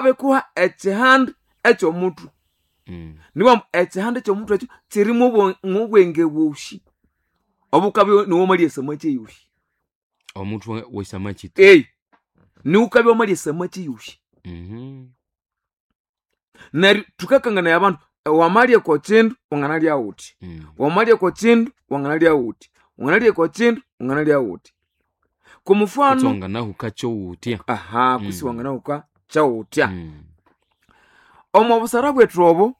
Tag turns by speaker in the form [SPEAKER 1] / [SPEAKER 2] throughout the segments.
[SPEAKER 1] Babikuha ekihanda eky'omutwe. Nibwambu ekihanda eky'omutwe ekyo kirimo obwenge bwosi obukabya niwomalya esamaki eyosi.
[SPEAKER 2] Omutwe wesamaki tu.
[SPEAKER 1] Ei, niwukabya wamalya esamaki yosi. Neryo thukakanganaya abandu, wamalya oko kindu wanganalya wuthi, wamalya oko kindu wanganalya wuthi, wanganalya oko kindu wanganalya wuthi. Komufano
[SPEAKER 2] Kutse wanganahuka kyowuthya.
[SPEAKER 1] Aha, kwisi wanganahuka kyawuthya. Omo busara bwethu obo,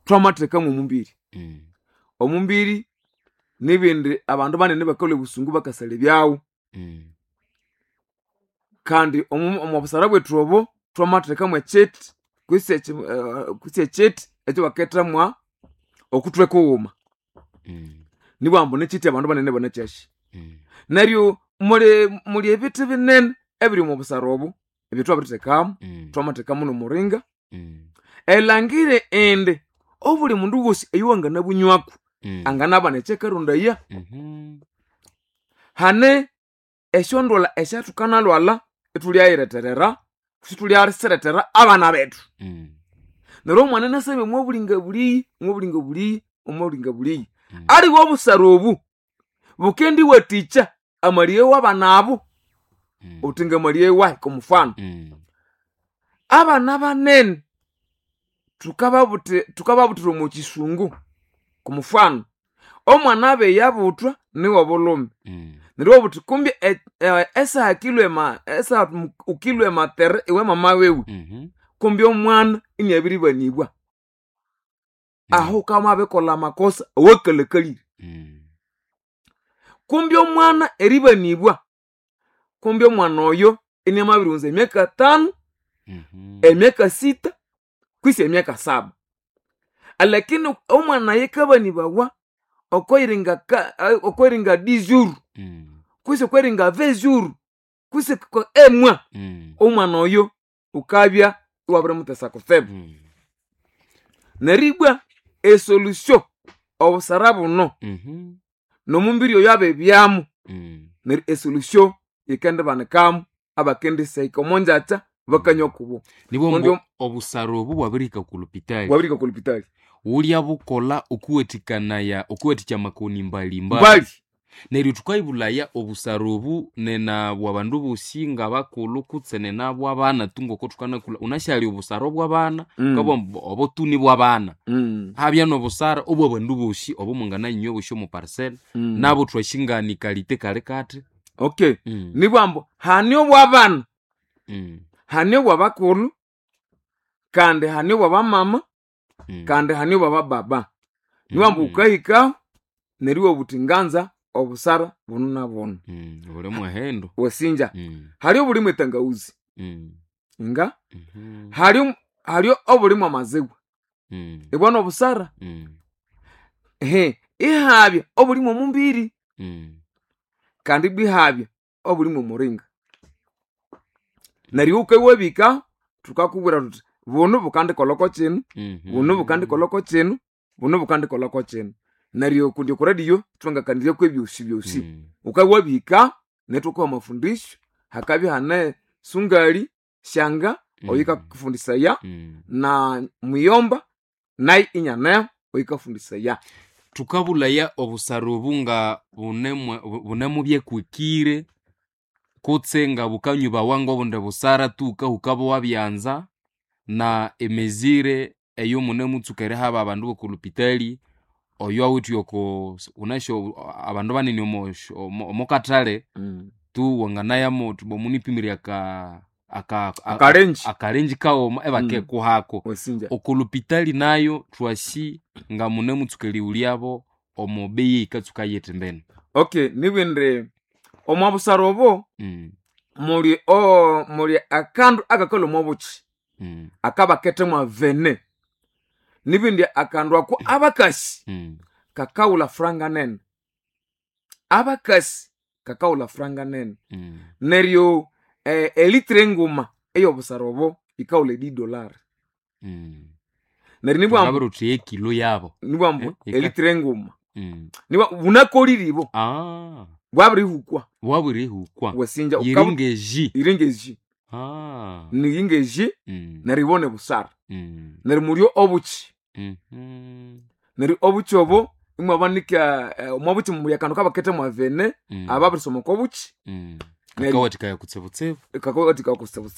[SPEAKER 1] thwamathekamu omumbiri. Omumbiri nibindi abandu banene bakalhwa ebusungu bakasalha ebyawu. Kandi omo busara bwethu obo, thwamathekamu ekyiti kwisi kwisi ekyiti ekyabakethamwa okuthwe kughuma. Nibwambu nikyiti abandu banene banakyasi. Neryo muli ebithi binene ebiri omo busara obu ebyethwabirithekamu. Thwamathekamu nomuringa. Elangire indi obuli mundu wosi oyuwanganabunywako anganabana ekyakarondaya. Hane esyondwalha esyathukanalwalha ithulyayiretherera kwisi ithulyasilethera abana bethu. Neryo omwana inasabya omwabulinga buliyi, omwabulinga buliyi, omwabulinga buliyi. Aliwe obusara obu bukendiwathikya amalighe wabana abo, uthi ngamalighe wahi komufano. Abana banene thukababuthira omo kisungu komufano, omwana abiyabuthwa niwobulhume. Neryo iwabugha wuthi kumbi esaha esaha wukilhwa ematere iwe mama wiwe, kumbi omwana iniabiribanibwa. Aho wukabya wamabirikolha amakosa awakalhakalire. Kumbi omwana eribanibwa, kumbi omwana oyo iniamabirighunza emyaka 5, emyaka 6, kwisi emyaka 7. Alakini omwana ayikabanibawa okoyiringa okoyiringa 10 jours, kwisi okweringa 20 jours, kwisi emwa, omwana oyo wukabya iwabirimutesa kutsibu. Neribwa esolution obusara buno nomumbiri oyo abibyamu, neryo esolution yikendibanikamu abakendisahika omongyakya bakanywa kubo.
[SPEAKER 2] Nibwo obusara obu bwabirihika oku lupitali.
[SPEAKER 1] Bwabirihika oku lupitali.
[SPEAKER 2] Wulya bukolha okuwathikanaya okuwathikya amakoni mbali-mbali.
[SPEAKER 1] Mbali.
[SPEAKER 2] Neryo thukayibulaya obusara obu nena bwabandu bosi ngabakulhu kutse nena bwabana tu ngoko thukanakulha wunasi hali obusara obwabana wukabugha ambu obo tu nibwabana. Habya nobusara obwabandu bosi obomwangananywa bosi omo parcel nabo thwasi ngani kalite kali kathi.
[SPEAKER 1] Okay. Nibwambu hane obwabana, hane obwabakulhu, kandi hane obwabamama, kandi hane obwabababa. Nibwambu wukahikaho neryo iwabugha wuthi nganza obusara bunu na bunu.
[SPEAKER 2] Buli mwehendo.
[SPEAKER 1] Wasinja. Hali obulimu etangawuzi. Nga? Hali hali obulimu amaziwa. Ibwa nobusara. Ehe, ihabya obulimu omumbiri. Kandi ibwa ihabya obulimu omuringa. Neryo wukawabika thukakubwira thuthi bunu bukandikolha kino, bunu bukandikolha kino, bunu bukandikolha kino. Neryo kundi oku radio thwangakaniryaku ebyosi byosi. Wukawabihika nethukuha amafundisyo, hakabya ihane sungali, shanga oyukakufundisaya na muyomba nayo inyaneho oyukafundisaya.
[SPEAKER 2] Thukabulaya obusara obu nga bunemubyekwikire kutse nga bukanyubawa ngobundi busara tu wukahuka bwabyanza na emezire eyomunemutsuka erihaba abandu boko lupitali oyo awithe oko wunasi abandu banene omokathale tu wanganayamu wuthi munipimire
[SPEAKER 1] Akalenji.
[SPEAKER 2] akalenji kaghuma ibakikuhako.
[SPEAKER 1] Wasinja.
[SPEAKER 2] Oko lupitali nayo thwasi nga munemutsuka erighulyabo omo beyi eyikatsuka yithi mbene.
[SPEAKER 1] Okay, nibindi omo busara obo muli muli akandu akakalhwa omo bukyi akabakethemwa vene. Nibindi akandu ako abakasi kakawulha franga nene. Abakasi kakawulha franga nene. Neryo elitre enguma eyobusara obo yikawulha $10. Neryo nibwambu
[SPEAKER 2] Thukabwira thuthi yekilo yabo.
[SPEAKER 1] Nibwambu elitre enguma. Nibwa bunakolire ibo. Bwabirihukwa.
[SPEAKER 2] Bwabirihukwa.
[SPEAKER 1] Wasinja
[SPEAKER 2] Yiringa eji.
[SPEAKER 1] Yiringa eji.
[SPEAKER 2] Ah.
[SPEAKER 1] Niyingeji neryo ibone busara. Neryo mulyo obuki. Neryo obuki obo imwabanika omwa buki muli akandu kabakete mwavene, ababirisoma oko buki. Neryo
[SPEAKER 2] Kakawathikaya kutsibutsibu.
[SPEAKER 1] Kakawathikaya kutsibutsibu.